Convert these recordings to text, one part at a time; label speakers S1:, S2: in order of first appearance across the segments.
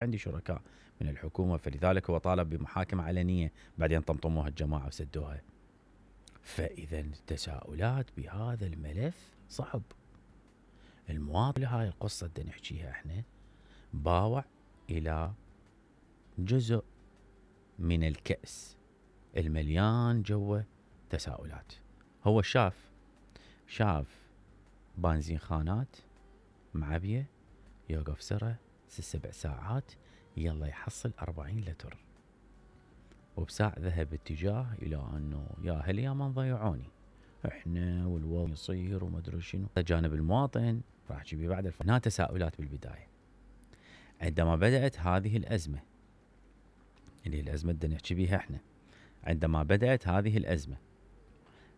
S1: عندي شركاء من الحكومة، فلذلك هو طالب بمحاكمة علنية، بعدين طمطموها الجماعة وسدوها. فإذا التساؤلات بهذا الملف صعب. المواطن هاي القصة بدنا نحكيها احنا باوع إلى جزء من الكأس المليان جوه تساؤلات. هو شاف بنزين خانات معبية، يوقف سرة 6-7 ساعات، يلا يحصل 40 لتر، وبساع ذهب اتجاه إلى أنه يا هل يا من ضيعوني احنا والوضع يصير وما ادري شنو. جانب المواطن راح احكي بيه بعد هنا تساؤلات بالبداية. عندما بدأت هذه الأزمة اللي الأزمة بدنا نحكي بيها احنا، عندما بدأت هذه الأزمة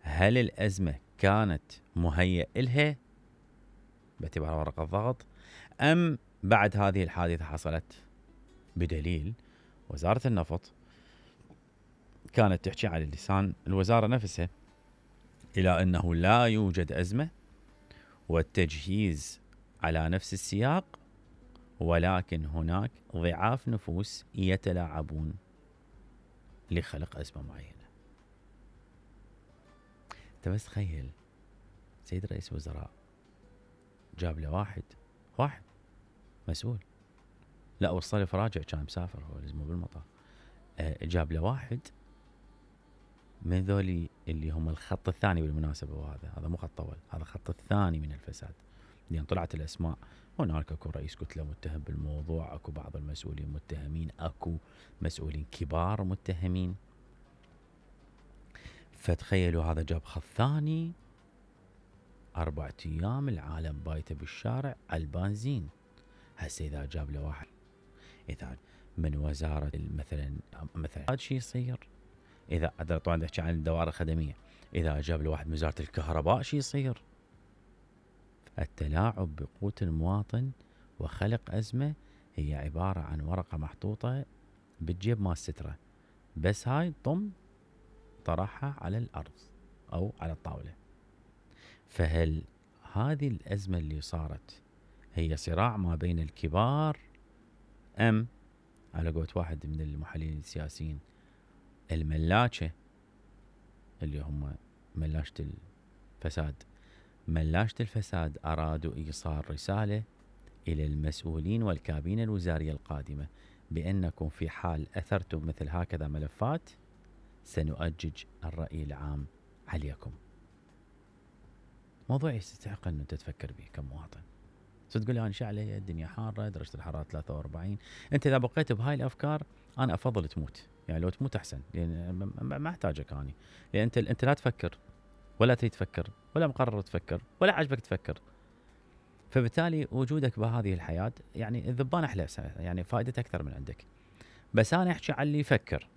S1: هل الأزمة كانت مهيئ إلها باعتبار ورقة ضغط، أم بعد هذه الحادثة حصلت؟ بدليل وزارة النفط كانت تحكي على لسان الوزارة نفسها إلى أنه لا يوجد أزمة والتجهيز على نفس السياق، ولكن هناك ضعاف نفوس يتلاعبون لخلق أزمة معينة. انت بس تخيل سيد رئيس وزراء جاب له واحد مسؤول، لا وصل فراجع كان مسافر هو لازمه بالمطار، جاب له واحد من ذولي اللي هم الخط الثاني بالمناسبة، وهذا مو خط أول، هذا الخط الثاني من الفساد. لأن طلعت الأسماء، هناك أكو رئيس كتلة متهم بالموضوع، أكو بعض المسؤولين متهمين، أكو مسؤولين كبار متهمين. فتخيلوا هذا جاب خط ثاني 4 أيام العالم بايته بالشارع على البنزين. هسه إذا جاب له واحد إذا من وزارة مثلا هذا شيء يصير. إذا طبعا نحكي عن الدوائر الخدمية، إذا جاب له واحد من وزارة الكهرباء شيء يصير. التلاعب بقوت المواطن وخلق أزمة هي عبارة عن ورقة محطوطة بالجيب مال سترة، بس هاي طرحها على الأرض أو على الطاولة. فهل هذه الأزمة اللي صارت هي صراع ما بين الكبار، أم على قولة واحد من المحللين السياسيين الملاكة اللي هم ملاشة الفساد أرادوا إيصال رسالة إلى المسؤولين والكابينة الوزارية القادمة بأنكم في حال أثرتم مثل هكذا ملفات سنؤجج الرأي العام عليكم. موضوع يستحق أن تتفكر به كمواطن. تقول لي أنا شعلي الدنيا حارة، درجة الحرارة 43. أنت إذا بقيت بهاي الأفكار أنا أفضل تموت، يعني لو تموت أحسن، لأن ما أحتاجك أنا، لأن أنت لا تفكر ولا تريد تفكر ولا مقرر تفكر ولا عجبك تفكر. فبالتالي وجودك بهذه الحياة يعني الذبان أحلى، يعني فائدته أكثر من عندك. بس أنا أحكي عن اللي يفكر،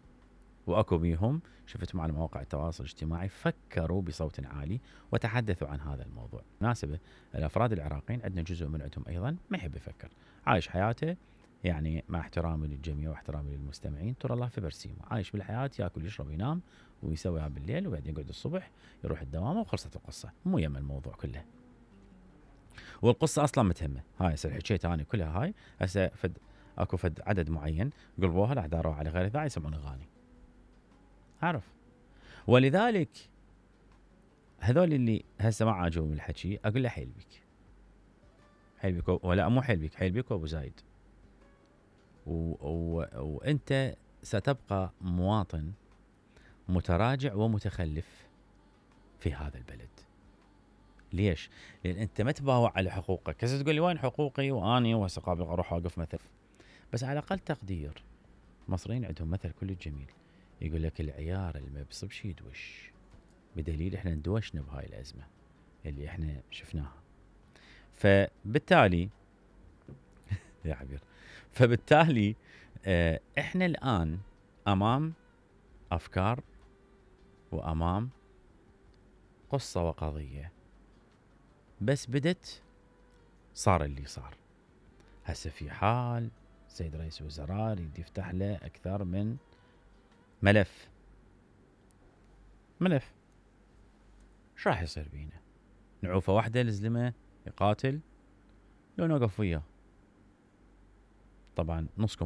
S1: وأكو بيهم شفت مع مواقع التواصل الاجتماعي فكروا بصوت عالي وتحدثوا عن هذا الموضوع. مناسبة الأفراد العراقيين عندنا جزء من عندهم أيضا ما يحب يفكر، عايش حياته يعني مع احترامي للجميع واحترامي للمستمعين، ترى الله في برسيمه، عايش بالحياة، يأكل يشرب ينام ويسويها بالليل، وبعدين يقعد الصبح يروح الدوام وخلصت القصة، مو يم الموضوع كله. والقصة أصلا متهمة، هاي هسه حكيت أنا كلها، هاي هسه أكو عدد معين قلبوها راح داروها على غير داعي يسمعون أغاني، أعرف. ولذلك هذول اللي هسه ما عاجبهم الحكي أقول له حيل بيك ولا مو حيل بيك وأبو زايد، وأنت ستبقى مواطن متراجع ومتخلف في هذا البلد. ليش؟ لأن أنت ما تباوع على حقوقك. هسه تقول لي وين حقوقي وأني وهسه قابل أروح أوقف مثل، بس على الأقل تقدير. المصريين عندهم مثل كل جميل يقول لك العيار اللي ما بيصبش يدوش، بدليل احنا ندوشنا بهاي الأزمة اللي احنا شفناها. فبالتالي يا عبير، فبالتالي احنا الآن أمام أفكار وأمام قصة وقضية، بس بدت صار اللي صار. هسه في حال سيد رئيس وزراء يريد يفتح له أكثر من ملف، شو راح يصير بينا؟ نعوفة واحدة لزلمة يقاتل لو نوقف وياه؟ طبعا نصكم